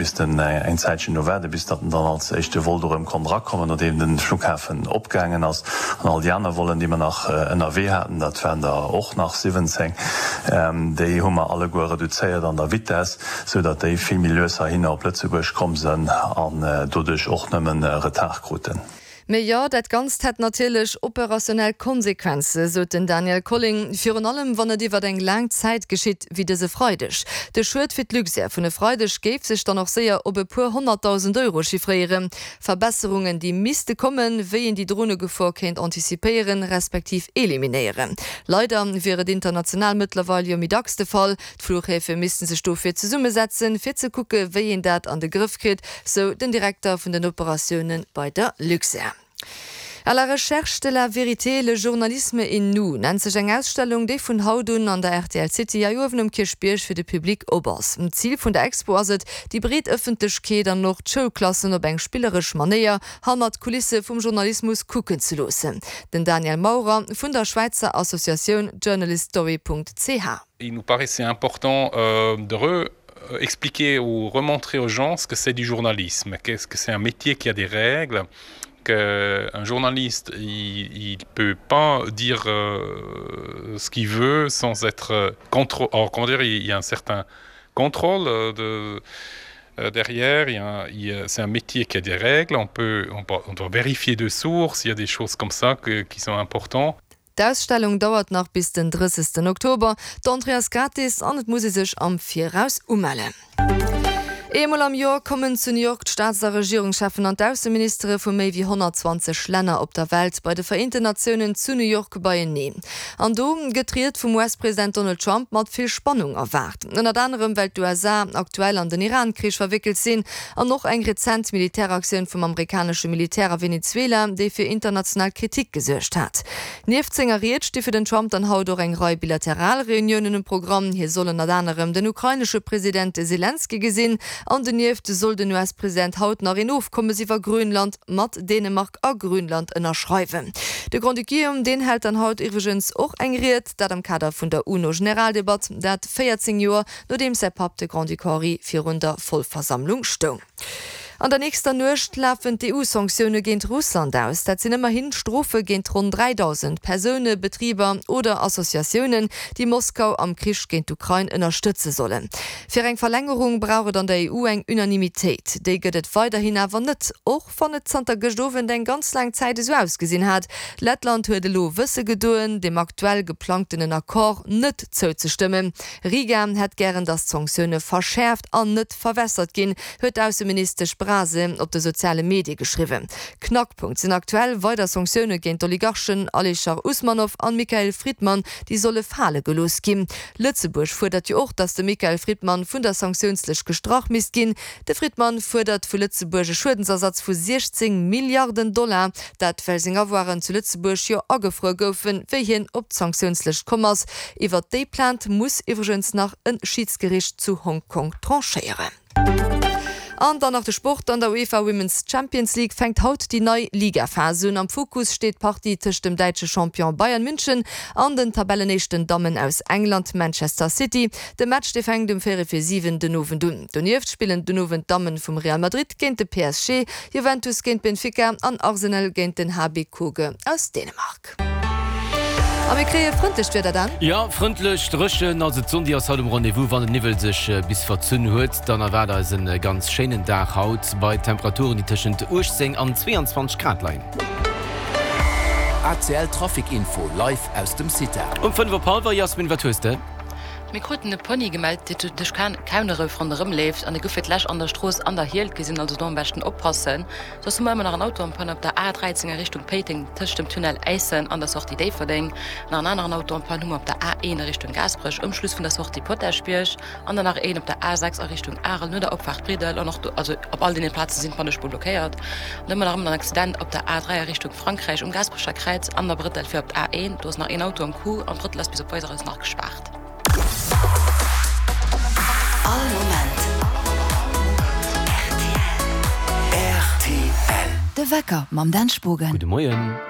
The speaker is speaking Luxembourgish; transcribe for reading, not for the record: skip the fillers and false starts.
Missten eng Zäitchen do waarden, bis datt en dann als éischte Vol do erëm konnt erakommen, nodeem de Flughafen opgaangen ass. An all déi aner Vollen, déi mer nach ënnerwee haten, dat waren der och nach 17, déi hu mer alleguer reduzéiert an der Vitess, sou datt déi vill méi lues heihinner op Lëtzebuerg komm sënn an doduerch och nëmmen Retard kruten. Mee jo, dat Ganzt hätt natierlech operationell Konsequenze, sot den Daniel Colling, virun allem wann et iwwer eng laang Zäit geschitt, wéi dëse Freideg. De Schued fir d'Luxair vun e Freideg géif sech dann och séier op e puer 100.000 Euro chiffréieren. Verbesserungen, déi misste kommen, wéi een déi Dronegefor kéint anticipéieren, respektiv eliminéieren. Leider wier et international mëttlerweil jo méi dacks de Fall. D'Flughäfe misste sech dofir zesummesetzen, fir ze kucke wéi een dat an de Grëff kritt, sou den Direkter vun den Operatioune bei der Luxair. À la recherche de la vérité, le journalisme et nous nennt sech eng Ausstellung, déi vun haut un an der rtl City hei uewen um Kierchbierg fir de Public op ass. Zil vun der Expo ass et, déi breet Ëffentlechkeet an och d'Schoulklassen op eng spilleresch Manéier hannert d'Kulisse vum Journalismus kucken ze loossen. Den Daniel Maurer vun der Schwäizer Associatioun journaliststory.ch. Il nous paraissait important euh, de re expliquer ou remontrer aux gens ce que c'est du journalisme, qu'est-ce que c'est un métier qui a des règles, qu'un journaliste il, il peut pas dire euh, ce qu'il veut sans être contre or, comment dire il y a un certain contrôle euh, de euh, derrière il y a, il y a, c'est un métier qui a des règles on peut on, on doit vérifier de sources il y a des choses comme ça que, qui sont importantes D'Ausstellung dauert nach bis den 30 Oktober, d'Entrée ass gratis an et muss ee sech am Viraus umellen. Eemol am Joer kommen zu New York d'Staats a Regierungscheffen an d'Ausseministere vu méi wéi 120 Länner op der Welt bei de Vereenten Natiounen zu New York beieneen. An do gëtt d'Ried vum US-President Donald Trump mat vill Spannung erwaart. Ënnert anerem well d'USA aktuell an den Iran-Krich verwéckelt sinn an och eng rezent Militäraktioun vum amerikanesche Militär a Venezuela, déi fir international Kritik gesuergt hat. Nieft senger Ried sti fir den Trump dann haut och eng Rei bilateral Reuniounen um Programm. Hie soll ënnert anerem den ukrainesche President Selenskyj gesinn an donieft soll den US-President haut nach een Ofkommes iwwer Grönland mat Dänemark a Grönland ënnerschreiwen. De Grand-Duc Guillaume, deen hält dann haut iwwregens och eng Ried, dat am Kader vun der UNO-Generaldebatt, dat 14 Joer nodeems säi Papp, de Grand-Duc Henri, virun der Vollversammlung stoung. An der nächster Nuecht lafen d'EU-Sanktioune géint Russland aus. Dat sinn ëmmerhin Strofe géint ronn 3.000 Persoune, Betriber oder Associatiounen, déi Moskau am Krich géint d'Ukrain ënnerstëtze sollen. Fir eng Verlängerung brauch et an der EU eng Unanimitéit. Déi gëtt et weiderhin awer net, och wann et zanter gëscht Owend eng ganz laang Zäit esou ausgesinn hat. Lettland huet elo wësse gedoen, dem aktuell geplangtenen Accord net zouzestëmmen. Riga hätt gären, datt d'Sanktioune verschäerft an net verwässert ginn, huet d'Ausseministesch Brase op de soziale Medie geschriwwen. Knackpunkt sinn aktuell weider Sanktioune géint d'Oligarchen Alichar Usmanow an Mikhail Fridman, déi solle fale gelooss ginn. Lëtzebuerg fuerdert jo och, datt de Mikhail Fridman vun der Sanktiounslëscht gestrach misst ginn. De Fridman fuerdert vu Lëtzebuerg e Schuedensersatz vu 16 Milliarden Dollar, dat well seng Avoiren zu Lëtzebuerg jo agefruer goufen, wéi hien op d'Sanktiounslëscht komm ass. Iwwert déi Plainte muss iwwregens nach e Schidsgericht zu Hong Kong tranchéieren. An dann nach de Sport, An der UEFA Women's Champions League fänkt haut déi nei Ligaphas un. Am Fokus steet d'Partie tëscht dem däitsche Champion Bayern München an den Tabellenéischten Dammen aus England, Manchester City. De Match dee fänkt um véierel vir 7 den Owend un. Donieft spillen den Owend d'Damme vum Real Madrid géint de PSG, Juventus géint Benfica an Arsenal géint den HB Køge aus Dänemark. A mir kréie frëndlecht Wieder, Dan. Jo, frëndlech, dréchen. Also d'Sonn déi ass haut um Rendez-vous. Wann den Niwwel sech bis verzunn huet, dann erwaart eis en ganz schéinen Dag haut bei Temperaturen déi tëschent 18 an 22 Grad leien. ACL Trafic Info live aus dem CITA. Um 5 op hallwer, Jasmin, wat hues de? Mir kruten e Pony gemellt, dee duerch Kauneref ronderëm leeft an e gouf fir d'lescht an der Strooss An der Hielt gesinn, also do am beschten oppassen. Soss hu mer ëmmer nach en Auto en panne op der A 13 a Richtung Péiteng tëscht dem Tunnel Äissen an der Sortie Déifferdeng. Nach en aneren Auto en panne hu mer op der A 1 a Richtung Gaasperech um Schluss vun der Sortie Potaschbierg an dann nach een op der A 6 a Richtung Arel no der Opfaart Bridel an och do, also op all deene Plaze sinn d'Pannespuer blockéiert. An ëmmer nach ëmmer en Accident op der A 3 a Richtung Frankräich um Gaasperecher Kräiz an der Brëttel fir op d'A 1. Do ass nach een Auto am Coup an d'Brëttel ass bis op Weiseres nach gespaart. All Moment rtl. De Wecker mam Dan Spogen. Gudde Moien.